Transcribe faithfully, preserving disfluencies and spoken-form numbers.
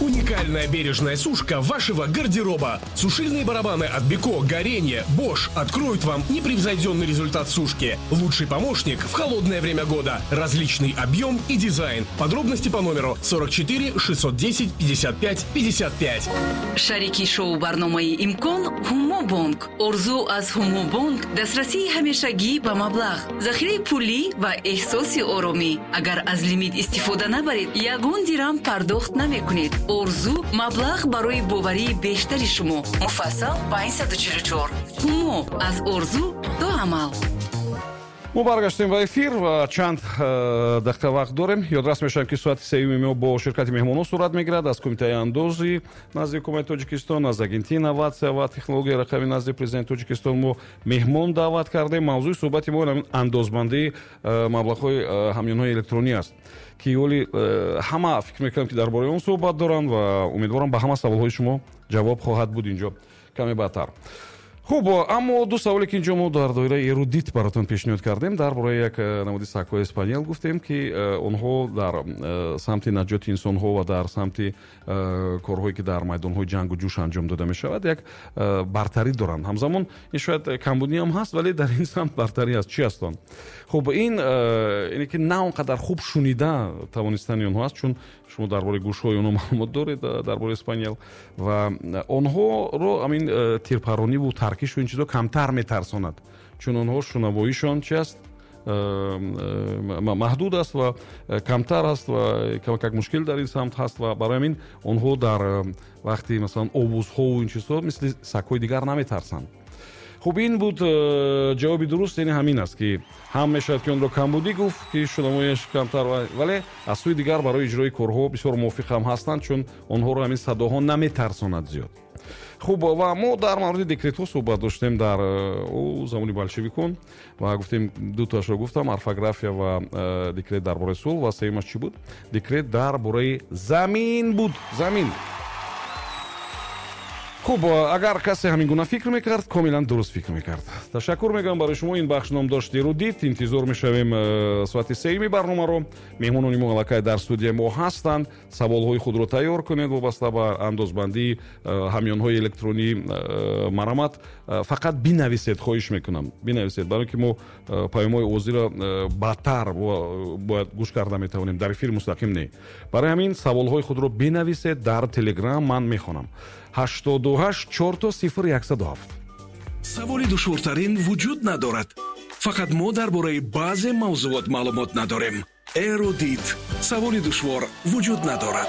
Уникальная бережная сушка вашего гардероба. Сушильные барабаны от Beko, Gorenje, Bosch откроют вам непревзойденный результат сушки. Лучший помощник в холодное время года. Различный объем и дизайн. Подробности по номеру сорок четыре шестьсот десять пятьдесят пять пятьдесят пять. Шарики шоу барномаи Имкон Хумо Бонк. Орзу аз Хумо Бонк дастрасии ҳамешагӣ ба маблағ, захираи пулӣ ва эҳсоси оромӣ. Агар аз лимит истифода набаред, ягон дирам пардохт намекунед. Орзу маблағ барои боварии бештари шумо. Муфассал панҷсаду чилу чор. Хумо аз орзу до амал. Мо баргаштем ба эфир ва чанд дақиқа вақт дорем. Ёдрас мешавем, ки соати сеюми мо бо ширкати меҳмонон сурат мегирад аз Кумитаи андози назди Ҳукумати Тоҷикистон, аз Агентии инноватсия ва технологияи рақамӣ назди Президенти Тоҷикистон мо меҳмон даъват кардем. Мавзӯи суҳбати мо андозбандии маблағҳои ҳамёнҳои электронӣ аст, ки ҳоли ҳама фикр мекунам, ки дар бораи он суҳбат доранд ва умедворам, ба ҳама саволҳои шумо ҷавоб хоҳад буд инҷо каме баъдтар. Хуб, аммо ду саволе, ки инҷо мо дар доираи эрудит баротон пешниҳод кардем, дар бораи як намуди сагҳои спаниел гуфтем, ки онҳо дар самти наҷоти инсонҳо ва дар самти корҳое, ки дар майдонҳои ҷангу ҷӯш анҷом дода мешавад, як бартарӣ доранд. Ҳамзамон ин шояд камбудӣ ҳам ҳаст, вале дар ин самт бартарӣ аст. Чӣ аст он? Хуб, ин ине ки на он қадар хуб шунида тавонистани онҳо аст, чун шумо дар бораи гӯшҳои онҳо маълумот доред, дар бораи спаниел, ва онҳоро ҳамин тирпарониву таркишу ин чизо камтар метарсонад, чун онҳо шунавоишон чи аст, маҳдуд аст ва камтар аст ва камакак мушкил дар ин самт ҳаст ва барои ҳамин онҳо дар вақти масалан овозҳову ин чизҳо мисли сагҳои дигар наметарсанд. Хуб, ин буд ҷавоби дуруст, яъне ҳамин аст, ки ҳам мешавад, ки онро камбудӣ гуфт, ки шунавояш камтар, вале аз сӯи дигар барои иҷрои корҳо бисёр мувофиқ ҳам ҳастанд, чун онҳоро ҳамин садоҳо наметарсонад зиёд. Хуб, ва мо дар мавриди декретҳо суҳбат доштем дар ӯ замони болшевикон ва гуфтем, дутоашро гуфтам, орфография ва декрет дар бораи сулҳ, ва сеюмаш чӣ буд? Декрет дар бораи замин буд. Замин. Хуб, агар касе ҳамин гуна фикр мекард, комилан дуруст фикр мекард. Ташаккур мегӯям барои шумо. Ин бахш ном дошт эрудит. Интизор мешавем соати сеюми барномаро. Меҳмонони мо аллакай дар студияи мо ҳастанд. Саволҳои худро тайёр кунед вобаста ба андозбандии ҳамёнҳои электронӣ марамат. Фақат бинависед, хоҳиш мекунам, бинависед, барои ки мо паёмҳои овозиро баъдтар бояд гӯш карда метавонем, дар эфири мустақим не. Барои ҳамин саволҳои худро бинависед дар Телеграм, ман мехонам. ҳаштоду ҳашт чор сифр яксаду ҳафт. Саволи душвортарин вуҷуд надорад. Фақат мо дар бораи баъзе мавзуот маълумот надорем. Эрудит. Саволи душвор вуҷуд надорад.